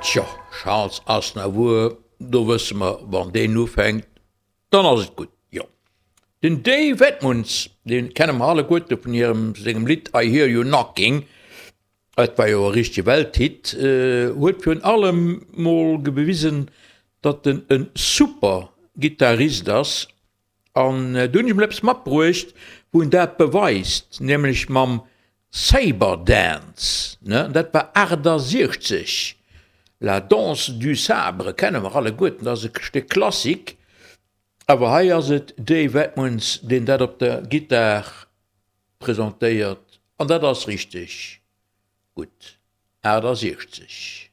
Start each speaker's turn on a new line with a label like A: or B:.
A: Tjo, Charles Aznavour, do wësse mer, wann deen ufänkt, dann ass et gutt, jo. Den Dave Edmunds, dee kenne mer alleguerte vun hirem, sengem Lidd I Hear You Knocking, et war jo e richtege Welthit, huet virun allem mol bewisen, datt en e super Gittarist ass An do hunn ech emol eppes matbruecht, wou en dat beweist, nämlech mam Saber Dance, ne, dat war 68, La danse du sabre kenne mer alleguerten, dat ass e Stéck Klassik, awer hei ass et Dave Edmunds, deen dat op der Gittar presentéiert, an dat ass richteg gutt. 68.